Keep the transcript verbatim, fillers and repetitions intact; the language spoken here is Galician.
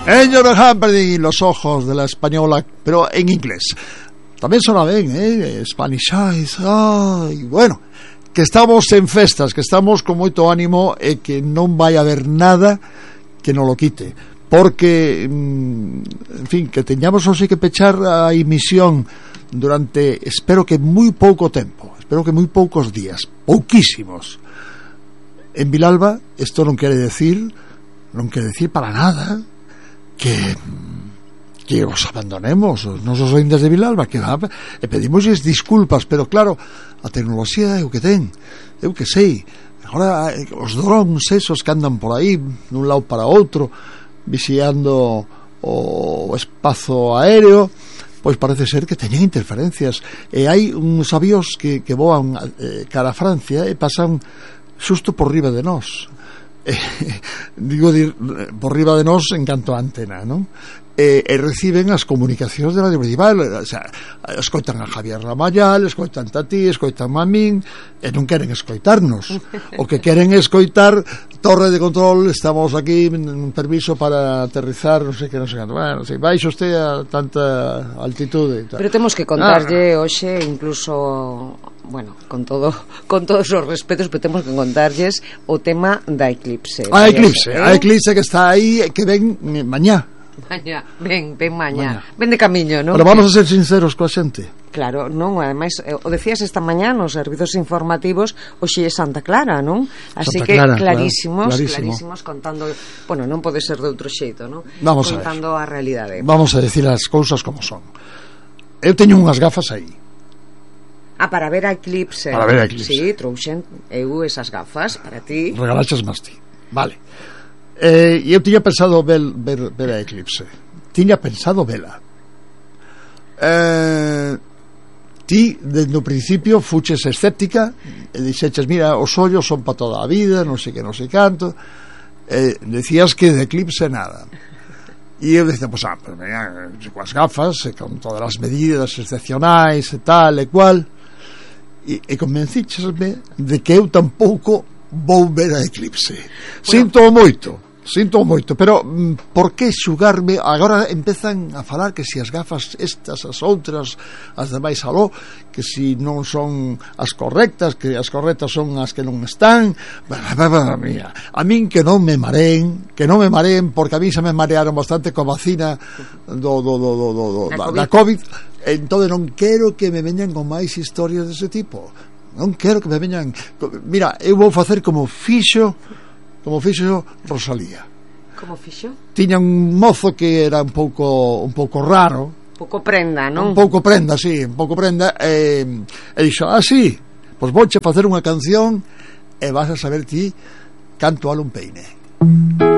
Ellos dejan perder los ojos de la española, pero en inglés. Tamén sona ben, eh? Spanish Eyes. Ai, bueno, que estamos en festas, que estamos con moito ánimo e que non vai haber nada que non lo quite. Porque, en fin, que teñamos hoxe que pechar a emisión durante, espero que moi pouco tempo, espero que moi poucos días, pouquísimos. En Vilalba, isto non quere decir, non quere decir para nada que que os abandonemos, os nosos ointes de Vilalba, que va, e pedimosles disculpas, pero claro, a tecnoloxía é o que ten, eu que sei. Agora os drones esos que andan por aí dun lado para outro vixiando o espazo aéreo, pois parece ser que teñen interferencias, e hai uns avións que, que voan eh, cara a Francia e pasan xusto por riba de nós. Eh, digo dir, por riba de nós en canto a antena, non? E, e reciben as comunicacións de Radio Principal, o sea, escoitan a Javier Ramayal, escoitan a ti, escoitan a min, e non queren escoitarnos. O que queren escoitar, torre de control, estamos aquí, un permiso para aterrizar, non sei que, non sei canto, bueno, sei, baixa usted a tanta altitude e tal. Pero temos que contarlle ah. hoxe, incluso, bueno, con todo, con todos os respetos, pero temos que contarlles o tema da eclipse. A eclipse, ¿eh? A eclipse que está aí, que ven mañá. Mañá, ven, ven mañá. mañá. Ven de camiño, non? Pero vamos a ser sinceros coa xente. Claro, non, ademais, o decías esta mañá nos servizos informativos, hoxe é Santa Clara, non? Así Santa que Clara, clarísimos, claro, clarísimos contando, bueno, non pode ser de outro xeito, non? Vamos contando a, a realidade. Vamos a decir as cousas como son. Eu teño unhas gafas aí. Ah, para ver a eclipse. Para ver a eclipse. Sí, trouxen eu esas gafas para ti. Regalaches máis ti. Vale. Eh, eu tiña pensado ver, ver, ver a eclipse. Tiña pensado vela. Eh, ti, desde o principio, fuches escéptica e dixeches, mira, os ollos son para toda a vida, non sei que, non sei canto. Eh, decías que de eclipse nada. E eu decía, pues, ah, pues venga, coas gafas, e con todas as medidas excepcionais e tal e cual. E, e convencíchesme de que eu tampouco vou ver a eclipse. Bueno, sinto moito. Sinto moito, pero por que xugarme? Agora empezan a falar que si as gafas estas, as outras, as demais aló, que si non son as correctas, que as correctas son as que non están. Mira, a min que non me mareen, que non me mareen, porque a mí se me marearon bastante coa vacina do, do, do, do, do, do, da, da COVID. Entón non quero que me veñan con máis historias dese tipo. Non quero que me veñan. Mira, eu vou facer como fixo como fixo Rosalía. Como fixo? Tiña un mozo que era un pouco un pouco raro, pouco prenda, non? Un pouco prenda, sí, un pouco prenda, e, e dixo, ah, sí, pois vouche facer unha canción e vas a saber ti canto al un peine.